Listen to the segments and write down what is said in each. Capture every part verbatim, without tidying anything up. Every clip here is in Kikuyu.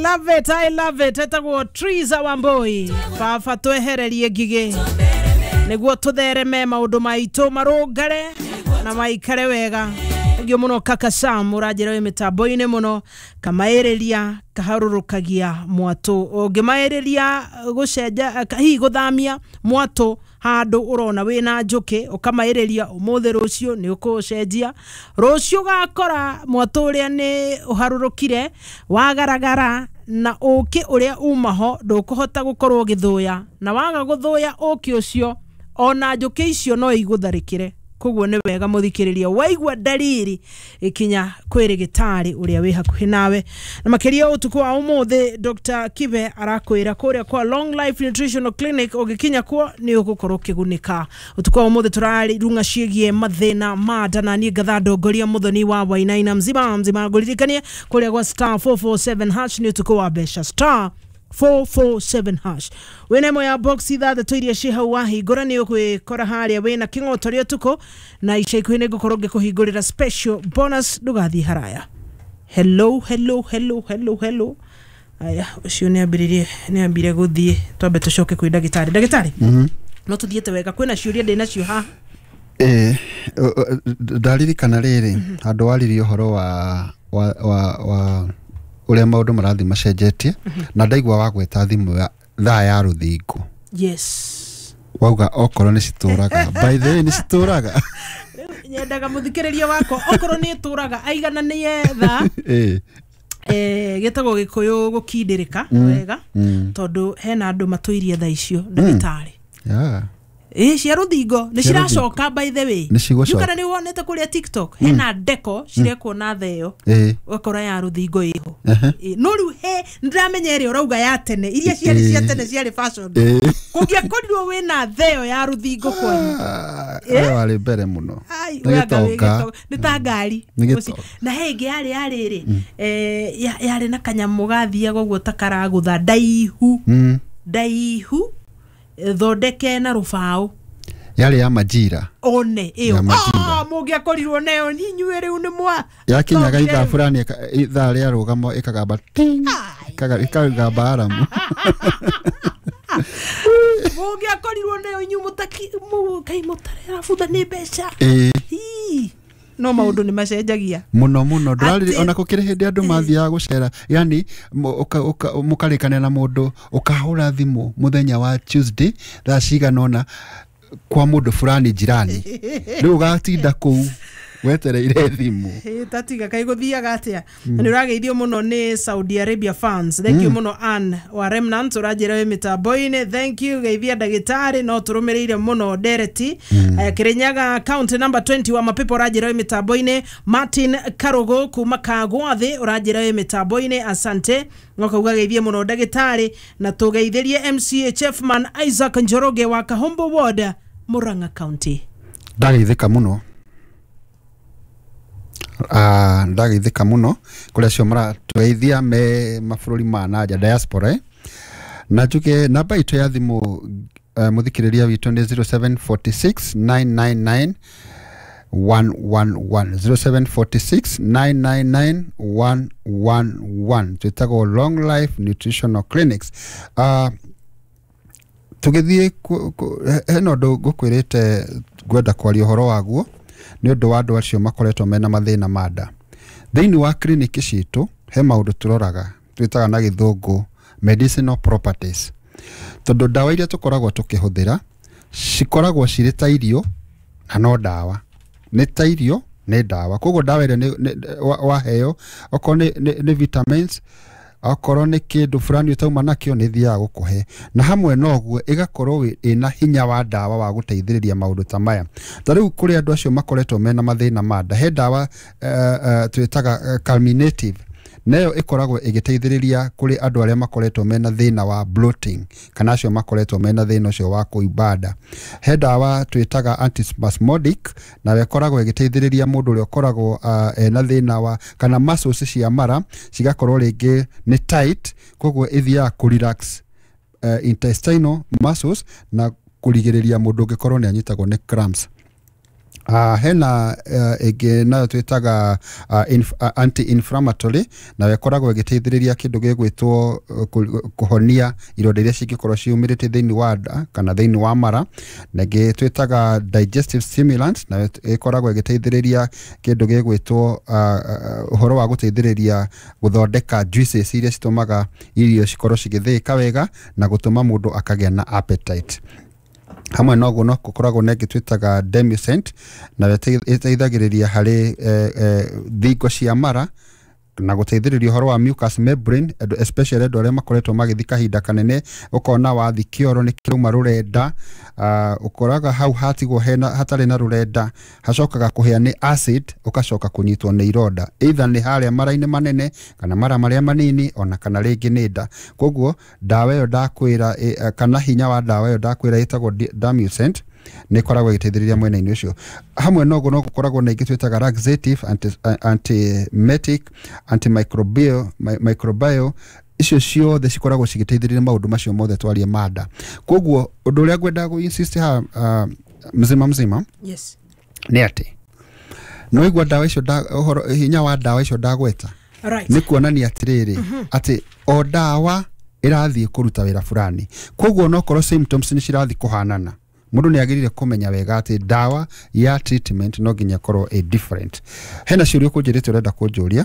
Love it, I love it. Etagwo Triza Wambui. Baba, twehererie ngigĩ nĩguo tũthereme, maũndũ maitũ marũngare na maikare wega. Thengio mũno. Kaka Sam, ũranjĩra wĩ mĩtambo-inĩ mũno. Kamaĩrĩria kaharũrũkagia mwatũ, ũngĩmaĩrĩria gũcenja, hihi gũthamia mwatũ handũ ũrona wĩna njũkĩ, ũkamaĩrĩria ũmũthĩ, rũciũ nĩ ũkũcenjia, rũciũ ũgakora mwatũ ũrĩa nĩ ũharũrũkire wagaragara, na ũkĩ ũrĩa uma ho ndũkũhota gũkorwo ũgĩthũya, na waga gũthũya ũkĩ ũcio, ona njũkĩ icio no igũtharĩkĩre. Koguo nĩ wega, mũthikĩrĩria, waigua ndariri, ikinya kwĩ rĩgĩtarĩ ũrĩa wĩ hakuhĩ nawe. Na makĩria ũtukũ wa ũmũthĩ, Dr Kibe arakwĩra kũrĩa kwa Long Life Nutritional Clinic, ũgĩkinya kuo nĩ ũgũkorwo ũkĩgunĩka. Ũtukũ wa ũmũthĩ tũrarunga ciĩgiĩ mathĩna ma nda, na niĩ ngatha ndongoria Mũthoni wa Wainaina mzima mzima. Ngũririkanie kũrĩa gwa star four four seven hash nĩ ũtukũ wa mbeca. Star four four seven hash, wĩna ĩmwe ya box ithathatũ iria ciĩ hau, wahingũra nĩ ũgwĩkora harĩa wĩna kĩng'otoria ũtukũ, na ica ikuhĩ nĩ ngũkorwo ngĩkũhingũrĩra special bonus. Ndũgathiĩ haraya. Hello, hello, hello, hello, hello. Aya, ũcio nĩ ambĩrĩrie, nĩ ambire gũthiĩ. Twambe tũcoke kwĩ ndagĩtarĩ. Ndagĩtarĩ, no tũthiĩte wega, kwĩna ciũria ndĩ nacio haha. Ĩĩ, ndaririkana rĩrĩ handũ waririe ũhoro wa wa wa wa ũrĩa maũndũ marathiĩ macenjetie, na ndaigua wagweta thimũ ya thaa ya rũthingo. Yes. Wauga okorwo nĩ citũraga, by the way, nĩ citũraga. Nyendaga mũthikĩrĩria wakwa, okorwo nĩ ĩtũraga, aigananie thaa. Ĩĩ. eh, gĩtagwo gĩkũyũ gũkindĩrĩka wega, mm. tondũ hena andũ matũirie thaa icio, ndagĩtarĩ. Yeah. Ĩ cia rũthingo nĩ Cia rũthingo. ciracoka, by the way. Nĩ cigũcoka. Kana nĩ wonete kũrĩa TikTok hena ndeko cirekwo na theo, Ĩĩ. ũgakora ya rũthingo ĩho. Ehe. Ĩ, no rĩu he nĩndĩramenya ĩrĩa ũrauga ya tene, iria ciarĩ cia Ĩĩ. tene, ciarĩ fashion. Ĩĩ. Kũngĩakorirwo wĩna theo ya rũthingo kwanyu, Ah, ũrĩa warĩ mbere mũno. Ai, Nĩ we anga wĩ gĩtonga. gĩtonga. Nĩ ta ngari. Nĩ gĩtonga. Na he ĩngĩ yarĩ yarĩ rĩ, eh, ya- yarĩ na kanyamũ gathiaga ũguo ta karagũtha, ndaihu, Mm. ndaihu, eh, thondeke na rũbaũ. Yarĩ ya majira. One ĩyo. Ya majira. Ah, mũngĩakorirwo nayo inyuĩ rĩu nĩ mwa Yakinyaga Thongire ithaa rĩu. fulani, ĩka- ithaa rĩa rũgamo ĩkagamba ting, ĩkaga- ĩkagamba aramu. Mũngĩakorirwo nayo inyuĩ mũtaki mũ- kai mũtarabutha nĩ mbeca. Ĩĩ. Hii. No maũndũ nĩ macenjagia. Mũno mũno. Ndũrariri Atĩ- ona gũkĩrĩ hĩndĩ andũ mathiaga gũcera, yani mũ- ũka- ũka- mũkarĩkanĩra na mũndũ, ũkahũra thimũ mũthenya wa Tuesday thaa cigana ũna kwa mũndũ fulani jirani, rĩu ũgatinda kũu wetereire thimũ. Ĩ, tatiga kai gũthiaga atĩa. Na nĩ ũrageithio mũno nĩ Saudi Arabia fans. Thank you mũno. Ann wa Remnant, ũranjĩra wĩ mĩtambo-inĩ, thank you. Geithia ndagĩtarĩ, no tũrũmĩrĩire mũno ndereti. mm. Kĩrĩnyaga county number twenty wa Mapepo, ũranjĩra wĩ mĩtambo-inĩ. Martin Karugo kuma Kagwathĩ, ũranjĩra wĩ mĩtambo-inĩ, asante. Ngokauga geithie mũno ndagĩtarĩ, na tũgeithĩrie M C H F man Isaac Njoroge wa Kahombo Ward, Murang'a County. Ndageithĩka mũno. Ah, ndageithĩka mũno kũrĩ acio maratũgeithia me mabũrũri ma nanja, diaspora, eh? Na njuge namba itũ ya thimũ, uh, mũthikĩrĩria witũ, nĩ zero seven four six nine nine nine one one one, zero seven four six nine nine nine one one one. Twĩtagwo Long Life Nutritional Clinics. uh, tũgĩthiĩ ku- ku- he- hena ũndũ ngũkwĩrĩte ngwenda kwaria ũhoro waguo, nĩ ũndũ wa andũ acio makoretwo mena mathĩna ma nda. Thĩinĩ wa kliniki citũ he maũndũ tũroraga, twĩtaga na gĩthũngũ medicinal properties, tondũ ndawa iria tũkoragwo tũkĩhũthĩra cikoragwo cirĩ ta irio, na no ndawa nĩ ta irio, nĩ ndawa. Koguo ndawa ĩrĩa nĩ- nĩ- wa- waheo, okorwo nĩ, nĩ, nĩ vitamins, okorwo nĩ kĩndũ fulani ũtauma nakĩo, nĩ thiaga gũkũhe, na hamwe na ũguo ĩgakorwo wĩ- ĩna hinya wa ndawa wa gũteithĩrĩria maũndũ ta maya. Ta rĩu kũrĩ andũ acio makoretwo mena mathĩna ma nda, he ndawa uh, uh, twĩtaga uh, carminative, nayo ĩkoragwo ĩgĩteithĩrĩria kũrĩ andũ arĩa makoretwo mena thĩna wa bloating, kana acio makoretwo mena thĩna ũcio wa kũimba nda. He ndawa twĩtaga antispasmodic, nayo ĩkoragwo ĩgĩteithĩrĩria mũndũ ũrĩa ũkoragwo uh, ena thĩna wa kana muscles cia mara cigakorwo rĩngĩ nĩ tight, koguo ĩthiaga kũ relax uh, intestinal muscles na kũrigĩrĩria mũndũ ũngĩkorwo nĩ anyitagwo nĩ cramps. Uh, hena uh, ĩngĩ nayo twĩtaga uh, inf uh, anti-inflammatory, nayo ĩkoragwo ĩgĩteithĩrĩria kĩndũ gĩgwĩtwo uh, kũhonia ironda iria cingĩkorwo ciumĩrĩte thĩinĩ wa nda kana thĩinĩ wa mara. Na ĩngĩ twĩtaga digestive stimulant, nayo ĩkoragwo ĩgĩteithĩrĩria kĩndũ gĩgwĩtwo uh, ũhoro wa gũteithĩrĩria gũthondeka juices iria citũmaga irio cikorwo cigĩthĩĩka wega na gũtũma mũndũ akagĩa na appetite. Hamwe na ũguo no gũkoragwo na ĩngĩ twĩtaga Demucent, nayo ĩteithagĩrĩria harĩ eh, eh, thingo cia mara na gũteithĩrĩria ũhoro wa mucous membrane, especially andũ arĩa makoretwo magĩthiĩ kahinda kanene, ũkona wathi kĩoro nĩ kĩrauma rũrenda, uh, ũkoraga hau hatigwo hena hatarĩ na rũrenda hacokaga kũhĩa nĩ acid, ũgacoka kũnyitwo nĩ ironda, either nĩ harĩa mara-inĩ manene kana mara marĩa manini, ona kana rĩngĩ nĩ nda. Koguo ndawa ĩyo ndakwĩra e, kana hinya wa ndawa ĩyo ndakwĩra ĩtagwo Demucent nĩ ĩkoragwo ĩgĩteithĩrĩria mwena-inĩ ũcio. Hamwe na ũguo no gũkoragwo na ingĩ twĩtaga laxative, anti, antiemetic, antimicrobial, microbial, icio ciothe cikoragwo cigĩteithĩrĩria maũndũ macio mothe twarie manda. Koguo ũndũ ũrĩa ngwenda gũ insist ha uh, mzima mzima, yes, nĩ atĩ no igua ndawa icio ũhoro hinya wa ndawa icio ndagweta, right, nĩ kuonania atĩrĩrĩ, mm -hmm, atĩ o ndawa ĩrathiĩ kũruta wĩra fulani. Koguo no korwo symptoms nĩ cirathiĩ kũhanana, mũndũ nĩ agĩrĩire kũmenya wega atĩ ndawa ya treatment no nginya ĩkorwo ĩ different. Hena ciũria ũkũnjĩrĩte ũrenda kũnjũria?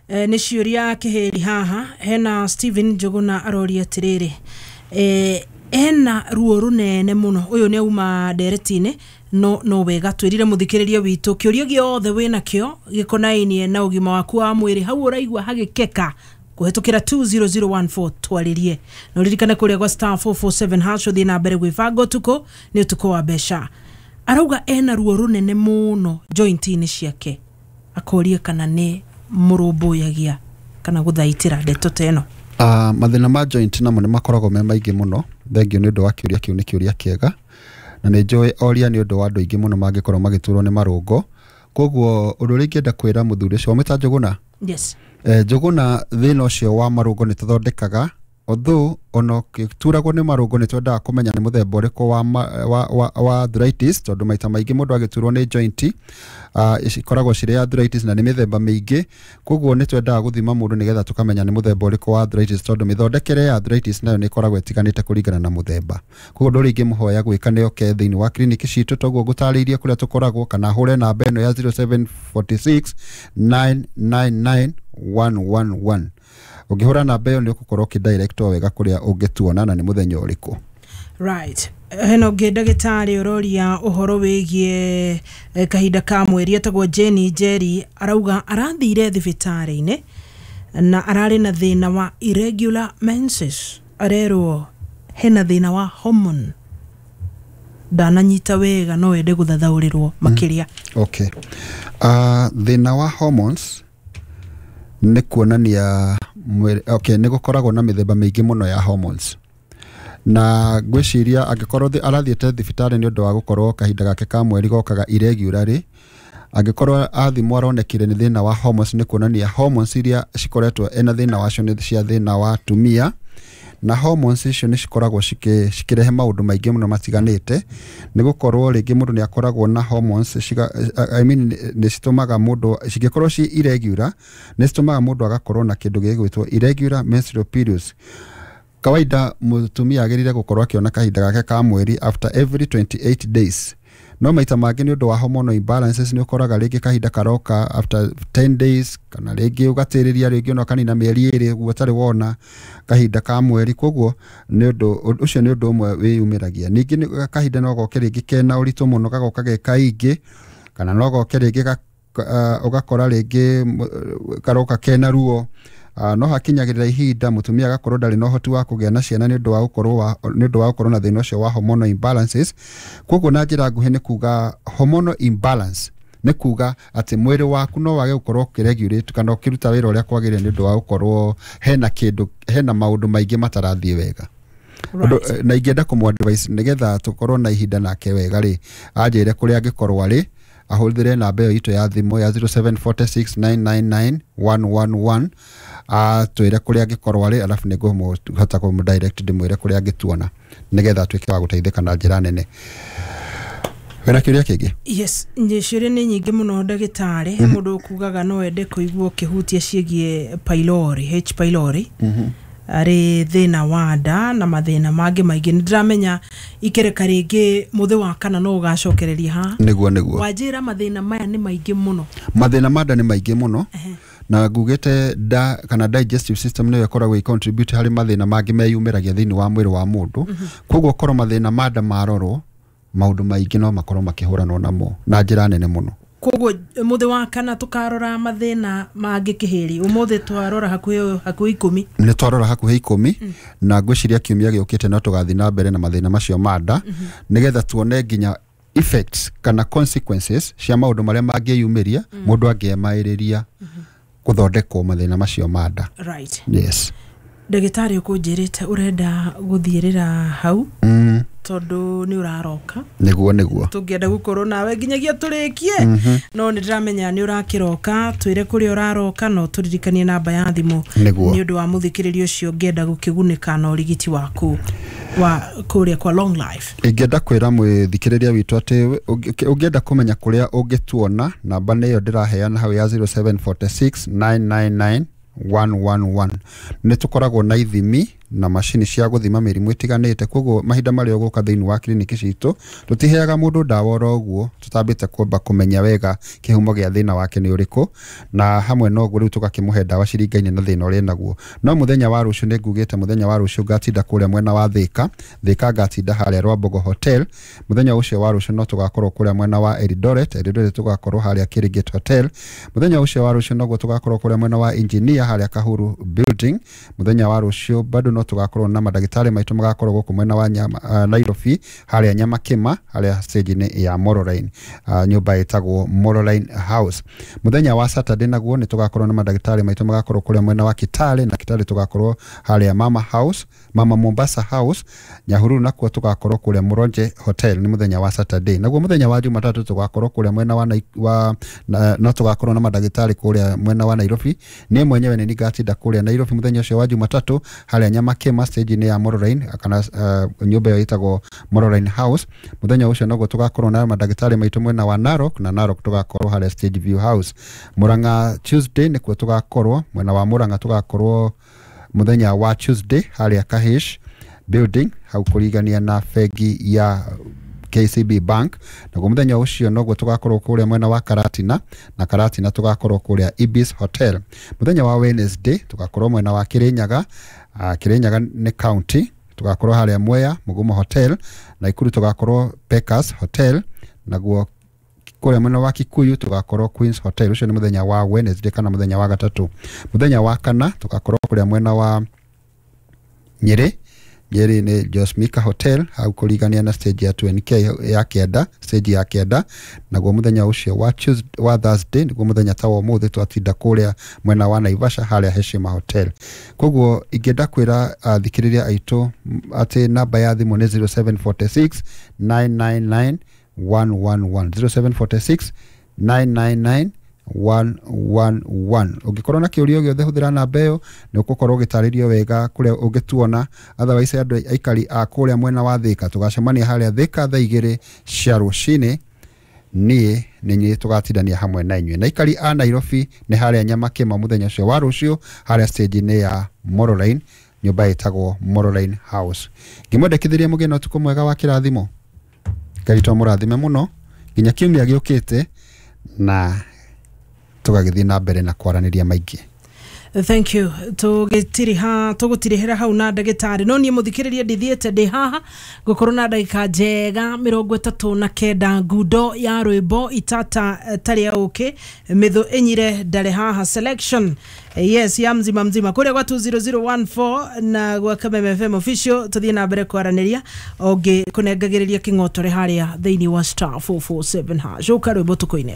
E, nĩ ciũria kĩhĩri haha. Hena Steven Njuguna aroria atĩrĩrĩ, e, ena ruo rũnene mũno, ũyũ nĩ auma ndereti-inĩ, no no wega twĩrire mũthikĩrĩria witũ kĩũria gĩothe wĩnakĩo gĩkonainie na ũgima waku wa mwĩrĩ, hau ũraigua hagĩkeka kũhetũkĩra two zero zero one four twarĩrie. Na ũririkane kũrĩa gwa star four four seven hash ũthiĩ na mbere gwĩbanga ũtukũ nĩ ũtukũ wa mbeca. Arauga ena ruo rũnene mũno joint-inĩ ciake, akoria kana nĩ mũrũmbũyagia kana gũthaitĩra ndeto ta ĩno. Uh, mathĩna ma joint namo nĩ makoragwo me maingĩ mũno. Thengiũ nĩ ũndũ wa kĩũria kĩu, nĩ kĩũria kĩega na nĩ njũĩ oria nĩ ũndũ wa andũ aingĩ mũno mangĩkorwo magĩturwo nĩ marũngo. Koguo ũndũ ũrĩa ingĩenda kwĩra mũthuri ũcio wamwĩta Njuguna, yes, eh, Njuguna, thĩna ũcio wa marũngo nĩ tũthondekaga, although ona ũkĩturagwo nĩ marũngo nĩ twendaga kũmenya nĩ mũthemba ũrĩkũ wa, wa, wa, wa arthritis, tondũ maita maingĩ mũndũ agĩturwo nĩ joint uh, ikoragwo cirĩ arthritis na nĩ mĩthemba mĩingĩ. Koguo nĩ twendaga gũthima mũndũ nĩgetha tũkamenya nĩ mũthemba ũrĩkũ wa arthritis, tondũ mĩthondekere ya arthritis nayo nĩ ĩkoragwo ĩtiganĩte kũringana na mũthemba. Koguo ũndũ ũrĩa ingĩmũhoya gwĩka nĩ oke thĩinĩ wa kliniki citũ, toguo ngũtarĩirie kũrĩa tũkoragwo, kana ahũre namba ĩno ya zero seven four six nine nine nine one one one. Ũngĩhũra namba ĩyo nĩ ũgũkorwo ũkĩdirectwo wega kũrĩa ũngĩtuona na nĩ mũthenya ũrĩkũ. Right. Hena ũngĩ ndagĩtarĩ ũroria ũhoro wĩgiĩ kahinda ka mweri, etagwo Jenny Njeri, arauga arathire thibitarĩ-inĩ na ararĩ na thĩna wa irregular menses, arerwo hena thĩna wa hormone, ndananyita wega, no ende gũthathaũrĩrwo makĩria. Mm. Okay. Uh, thĩna wa hormones nĩ kuonania mwĩrĩ, okay, nĩ gũkoragwo na mĩthemba mĩingĩ mũno ya hormones, na ngwĩciria angĩkorwo arathiĩte thibitarĩ nĩ ũndũ wa gũkorwo kahinda gake ka mweri gokaga irregularly, angĩkorwo athimwo aronekire nĩ thĩna wa hormones, nĩ kuonania hormones iria cikoretwo ena thĩna wacio nĩ cia thĩna wa atumia, na hormones icio nĩ cikoragwo cikĩrehe maũndũ maingĩ mũno matiganĩte. Nĩ gũkorwo rĩngĩ mũndũ nĩ akoragwo na hormones ciga, I mean, nĩ citũmaga mũndũ cingĩkorwo ci irregular, nĩ citũmaga mũndũ agakorwo na kĩndũ gĩgwĩtwo irregular menstrual periods. Kawaida mũtumia agĩrĩire gũkorwo akĩona kahinda gake ka mweri after every twenty-eight days. No maita mangĩ nĩ ũndũ wa hormonal imbalances nĩ ũkoraga rĩngĩ kahinda karoka after ten days, kana rĩngĩ ũgatĩrĩria rĩngĩ ona kanina mĩeri ĩrĩ ũguo ũtarĩ wona kahinda ka mweri. Koguo nĩ ũndũ ũcio nĩ ũndũ ũmwe wĩyumĩragia. Ningĩ kahinda no goke rĩngĩ kena ũritũ mũno, gagoka ge kaingĩ, kana no goke rĩngĩ ũgakora rĩngĩ karoka kena ruo. Uh, no hakinyagĩrĩra ihinda mũtumia agakorwo ndarĩ na ũhoti wa kũgĩa na ciana nĩ ũndũ wa gũkorwo nĩ ũndũ wa gũkorwo na thĩna ũcio wa hormonal imbalances. Koguo na njĩra nguhĩ nĩ kuga hormonal imbalance nĩ kuga atĩ mwĩrĩ waku no wage gũkorwo ũkĩregulate kana ũkĩruta wĩra ũrĩa kwagĩrĩire nĩ ũndũ wa gũkorwo hena kĩndũ, hena maũndũ maingĩ matarathiĩ wega. Right. Na ingĩenda kũmũ advice nĩgetha tũkorwo na ihinda nake wega rĩ, anjĩre kũrĩa angĩkorwo arĩ, ahũthĩre namba ĩyo itũ ya thimũ ya zero seven four six nine nine nine one one one, atwĩre kũrĩa angĩkorwo arĩ, alafu nĩ ngũhota kũmũ direct ndĩmwĩre kũrĩa angĩtuona nĩgetha atuĩke wa gũteithĩka na njĩra nene. Wĩna kĩũria kĩngĩ? Yes, ciũria nĩ nyingĩ mũno ndagĩtarĩ. Mũndũ ũkugaga no ende kũigua ũkĩhutia ciĩgiĩ pylori, H pylori, arĩ thĩna wa nda na mathĩna mangĩ maingĩ. Nĩ ndĩramenya ikereka rĩngĩ mũthĩ wa kana no ũgacokereria haha. Nĩguo, nĩguo. Wanjĩra mathĩna maya nĩ maingĩ mũno. Mathĩna ma nda nĩ maingĩ mũno, na ngugĩte nda kana digestive system nĩyo ĩkoragwo ĩ-contribute harĩ mathĩna mangĩ meyumĩragia thĩinĩ wa mwĩrĩ wa mũndũ. Koguo korwo mathĩna ma nda marorwo, maũndũ maingĩ no makorwo makĩhũranwo namo na njĩra nene mũno. Koguo mũthĩ wa kana tũkarora mathĩna mangĩ kĩhĩri. Ũmũthĩ twarora hakuhĩ hakuhĩ ikũmi. Nĩ twarora hakuhĩ ikũmi, na ngwĩciria kiumia gĩũkĩte no tũgathiĩ na mbere na mathĩna macio ma nda, nĩgetha tuone nginya effects kana consequences cia maũndũ marĩa mangĩyumĩria mũndũ angĩemaĩrĩria gũthondekwo mathĩna macio ma nda. Right. Yes. Ndagĩtarĩ, ũkũnjĩrĩte ũrenda gũthiĩrĩra hau mm. tondũ nĩ ũraroka. Nĩguo, nĩguo. Tũngĩenda gũkorwo nawe nginyagia tũrĩkie, no nĩ ndĩramenya nĩ ũrakĩroka. Twĩre kũrĩa ũraroka, no tũririkanie namba ya thimũ Nĩguo. nĩ ũndũ wa mũthikĩrĩria ũcio ũngĩenda gũkĩgunĩka na ũrigiti waku wa kũrĩa kwa Long Life. Ingĩenda kwĩra mwĩthikĩrĩria witũ atĩ ũngĩ- ũngĩenda kũmenya kũrĩa ũngĩtuona, namba nĩ ĩyo ndĩraheana hau ya zero seven four six nine nine nine one one one. Nĩ tũkoragwo na ithimi na macini cia gũthima mĩrimũ ĩtiganĩte. Koguo mahinda marĩa ũgũka thĩinĩ wa kiriniki citũ, tũtiheaga mũndũ ndawa oro ũguo tũtambĩte kwamba kũmenya wega kĩhumo gĩa thĩna wake nĩ ũrĩkũ, na hamwe na ũguo rĩu tũgakĩmũhe ndawa ciringaine na thĩna ũrĩa naguo. No mũthenya wa rũciũ, nĩ ngugĩte mũthenya wa rũciũ ngatinda kũrĩa mwena wa Thĩka. Thĩka ngatinda harĩa Rwambogo Hotel. Mũthenya ũcio wa rũciũ no tũgakorwo kũrĩa mwena wa Eldoret. Eldoret tũgakorwo harĩa Kirigit Hotel. Mũthenya ũcio wa rũciũ noguo tũgakorwo kũrĩa mwena wa Engineer, harĩa Kahuru Building. Mũthenya wa rũciũ bado no tũgakorwo na mandagĩtarĩ maitũ magakorwo gũkũ mwena wa nyama, uh, Nairobi, harĩa Nyamakĩma, harĩa stage-inĩ ya Moroline, uh, nyũmba ĩtagwo Moroline House. Mũthenya wa Saturday naguo nĩ tũgakorwo na mandagĩtarĩ maitũ magakorwo kũrĩa mwena wa Kitale, na Kitale tũgakorwo harĩa Mama House, Mama Mombasa House. Nyahururu nakuo tũgakorwo kũrĩa Mũronje Hotel, nĩ mũthenya wa Saturday. Naguo mũthenya wa Jumatatũ tũgakorwo kũrĩa mwena wa, Nai- wa na, no tũgakorwo na mandagĩtarĩ kũrĩa mwena wa Nairobi. Niĩ mwenyewe nĩ ngatinda kũrĩa Nairobi mũthenya ũcio wa Jumatatũ, harĩa Nyamakĩma, stage-inĩ ya Moroline, kana uh, nyũmba ĩyo ĩtagwo Moroline House. Mũthenya ũcio noguo tũgakorwo na mandagĩtarĩ maitũ mwena wa Narok, na Narok tũgakorwo harĩa Stage View House. Murang'a Tuesday nĩkuo tũgakorwo, mwena wa Murang'a tũgakorwo mũthenya wa Tuesday harĩa Kahish Building, hau kũrigania na bengi ya K C B Bank. Naguo mũthenya ũcio noguo tũgakorwo kũrĩa mwena wa Karatina, na Karatina tũgakorwo kũrĩa Ibis Hotel. Mũthenya wa Wednesday tũgakorwo mwena wa Kirinyaga. uh, Kirinyaga nĩ county, tũgakorwo harĩa Mwea Mugumo Hotel. Naikuru tũgakorwo Pekas Hotel. Naguo kũrĩa mwena wa Kikuyu tũgakorwo Queens Hotel. Ũcio nĩ mũthenya wa Wednesday kana mũthenya wa gatatũ. Mũthenya wa kana tũgakorwo kũrĩa mwena wa Nyĩrĩ. Nyĩrĩ nĩ Josmika Hotel, hau kũrigania na stage ya two N K ya kĩanda, stage ya kĩanda. Naguo mũthenya ũcio wa Tuesday, wa Thursday, nĩguo mũthenya ta wa ũmũthĩ, twatinda kũrĩa mwena wa Naivasha, harĩa Heshima Hotel. Koguo ingĩenda kwĩra athikĩrĩria aitũ m- atĩ namba ya thimũ nĩ zero seven four six nine nine nine one one one, zero seven four six nine nine nine one one one. Ũngĩkorwo na kĩũria o gĩothe, hũthĩra namba ĩyo, nĩ ũgũkorwo ũgĩtarĩrio wega kũrĩa ũngĩtuona. Otherwise, andũ aikari a kũrĩa mwena wa Thĩka, tũgacemania harĩa Thĩka thaa igĩrĩ cia rũcinĩ. Niĩ nĩ niĩ tũgatindania hamwe na inyuĩ. Na aikari a Nairobi nĩ harĩa Nyamakĩma mũthenya ũcio wa rũciũ, harĩa stage-inĩ ya Moroline, nyũmba ĩtagwo Moroline House. Ngĩmwendekithĩria mũgĩe na ũtukũ mwega wa kĩrathimo. Ngai to mũrathime mũno nginya kiumia gĩũkĩte, na tũgagĩthiĩ na mbere na kwaranĩria maingĩ. Thank you. Tũgĩtiriha, tũgũtirihĩra hau na ndagĩtarĩ. No niĩ mũthikĩrĩria ndithiĩte, ndĩ haha ngũkorwo na ndagĩka njega mĩrongo ĩtatũ na kenda, ngundo ya rwĩmbo itata eh, tarĩa ũkĩ mĩthũ ĩnyire ndarĩ haha selection, yes, ya mzima mzima kũrĩa gwa two zero zero one four na gwa Kameme F M official. Tũthiĩ na mbere kwaranĩria ũngĩ kũnengagĩrĩria kĩng'otore harĩa thĩinĩ wa star four four seven hash. Ũka rwĩmbo tũkũine.